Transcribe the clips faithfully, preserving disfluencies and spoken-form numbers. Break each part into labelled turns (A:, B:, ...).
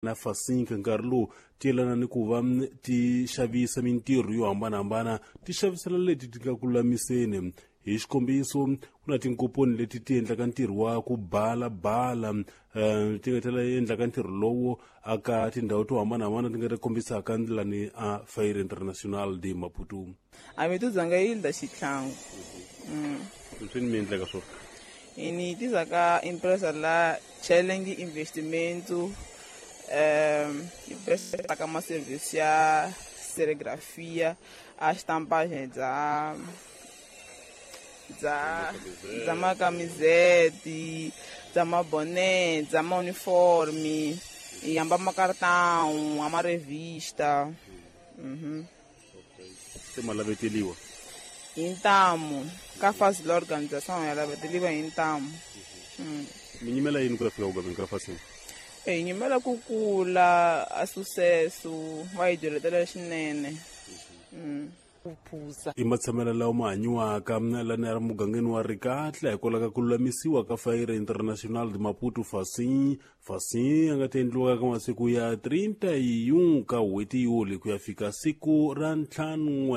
A: Na Fasinka nkarhi lowu ti yelana ni ku va ti xavisa mintirho yo hambanahambana, ti xavisela leti ti nga ku lulamiseni. Hi xikombiso, ku na tinkomponi leti ti endlaka ntirho wa ku balabala, um ti nga tlhela endlaka ntirho lowo aka tindhawu to hambanahambana ti nga ti kombisaka ndlela ni a Feira Internacional de Maputo.
B: A mi tuzanga yilda xitlhangu.
A: Swi ni mi endleka swona?
B: Ini tizaka empresa la Challenge Investimento, um empresa ka ma serviço ya serigrafia, a estampagem dza dza dza macamisete, dza maboné, dza mauniforme, e amba macartão, a revista. Uhum.
A: Se ma laveteliwa?
B: Hi ntamu ka fasi la organização ya laveteliwa hi ntamu. Mm.
A: Mi nyimela yini ku ya fika ku gaveni ka fasini?
B: Hi nyimela ku kula a sucesso va hi dyoletela swinene. Mm.
A: I matshamelo lawa ma hanyiwaka lana ya mugangeni wa Rikatla hikwalaho ka ku lulamisiwa ka Feira Internacional de Maputo Facim. Facim a nga ta endliwaka ka masiku ya treinta e um ka n'hweti Yuli ku ya fika siku ra ntlhanu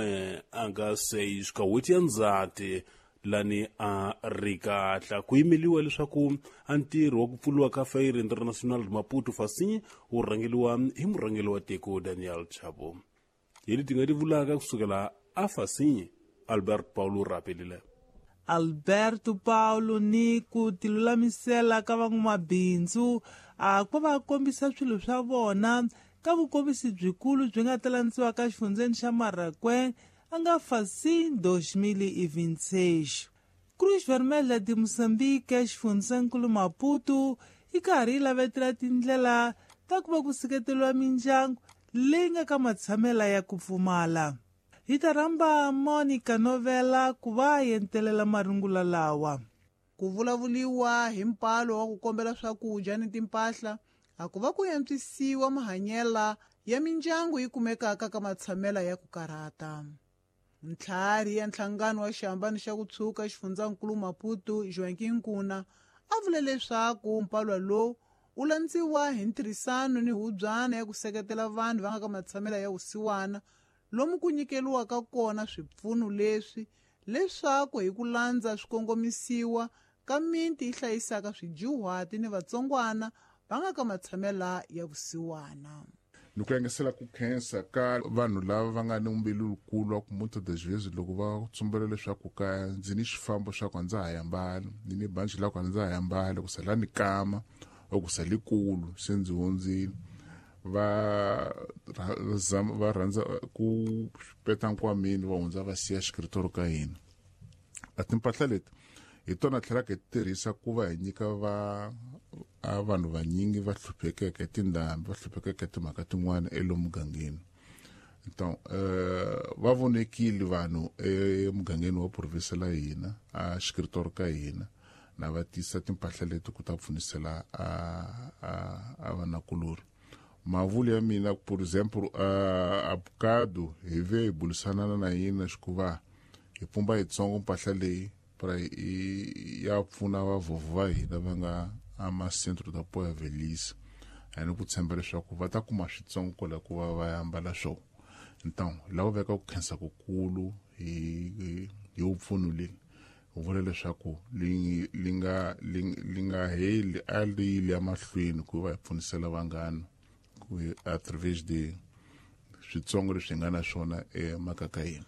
A: a nga seis ka n'hweti ya Ndzhati lani a Rikatla. Ku yimeliwa leswaku a ntirho wa ku pfuriwa ka Feira Internacional de Maputo Facim wu rhangeliwa hi murhangeri wa tiko Daniel Chapo. Hi leti nga ti vulaka kusukela a Facim, Albert Paulo rapelile.
C: Alberto Paulo ni ku tilulamisela ka van'wamabindzu a ku va kombisa swilo swa vona ka vukombisi byikulu byi nga ta landziwa ka xifundzeni xa Marraquém a nga Facim dois mil e vinte e seis. Cruz Vermelha de Moçambique xifundzankulu Maputo yi karhi yi lavetela tindlela ta ku va ku seketeriwa mindyangu leyi nga ka matshamela ya ku pfumala. Hi ta rhamba Monica Novela ku va yentelela marungula lawa.
D: Ku vulavuliwa hi mpalo wa ku kombela swakudya ni timpahla a ku va ku antswisiwa mahanyela ya mindyangu yi kumekaka ka matshamela ya ku karhata. Ntlhari ya nhlangano wa xihambano xa ku tshuka xifundzankulu Maputo, Joaquim Nkuna, a vule leswaku mpalwa lowu wu landziwa hi ntirhisano ni hubyana ya ku seketela vanhu va nga ka matshamela ya vusiwana, lomu ku nyikeliwaka kona swipfuno leswi leswaku hi ku landza swikongomisiwa ka miti yi hlayisaka swidyuhati ni vatsongwana va nga ka matshamela ya vusiwana.
E: Ni ku yangisela ku khensa ka vanhu lava va nga ni mbilu lukulu wa ku muitas das vezes loko va tsumbela leswaku ka ndzi ni xifambo xa ku a ndza ha yambali, ni ni banci la ku a ndza ha yambali, ku sala ni kama or ku sale kulu se ndzi hundzile, va va rhandza ku peta nkwameni va hundza va siya xikritori ka hina. A timpahla leti hi tona tlhelaka hi tirhisa ku va hi nyika va a vanhu vanyingi va hluphekeke tindhambi, va hluphekeke timhaka tin'wana elomugangeni. Então uh, va vonekile vanhu emugangeni wa provinsi la hina a xikritori ka hina na va tisa timpahla leti ku ta pfunisela a a a vanakulori. Mavulu ya mina, por exemplo, a bocado hi ve hi bulisanana na yina xikuva hi pumba yitsongo mpahla leyi para ya pfuna vavhovho va hina va nga ama-centro de apoio à velhice, ani ku tshemba leswaku va ta kuma switsongo kwala ku va va ya ambala swona. Então lava veka ku khensa kukulu hi hi vupfuno leyi u vula leswaku li li nga li nga heli, a li yile emahlweni ku va hi pfunisela vanghana ku através de switsongo leswi hi nga na swona emakaya ka hina.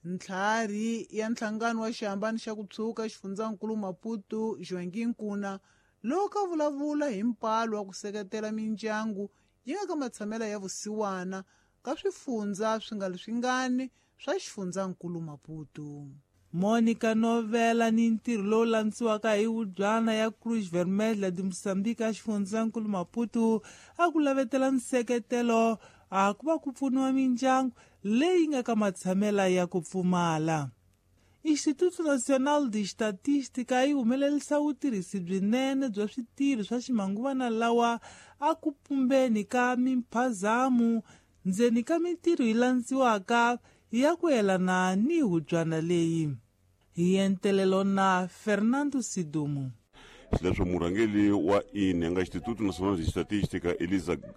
D: Ntlhari ya nhlangano wa xihambano xa ku tshuka xifundzankulu Maputo, Joaquim Nkuna, loko a vulavula hi mpalo wa ku seketela mindyangu yi nga ka matshamela ya vusiwana ka swifundza swi nga swingani swa xifundzankulu Maputo.
C: Monica Novela ni ntirho lowu landziwaka hi wubyana ya Cruz Vermelha de Moçambique a xifundzankulu Maputo a ku lavetela nseketelo a ku va ku pfuniwa mindyangu leyi nga ka matshamela ya ku pfumala. Instituto Nacional de Estatística yi humelerisa vutirhisi byinene bya switirho swa ximanguvana lawa a ku pumbeni ka mimphazamo ndzeni ka mintirho yi landziwaka ya ku yelana ni hubyana leyi. Hi entelelo na Fernando Sidumo.
A: Xileswo murhangeri wa I N E nga Instituto Nacional de Estatística, Elisa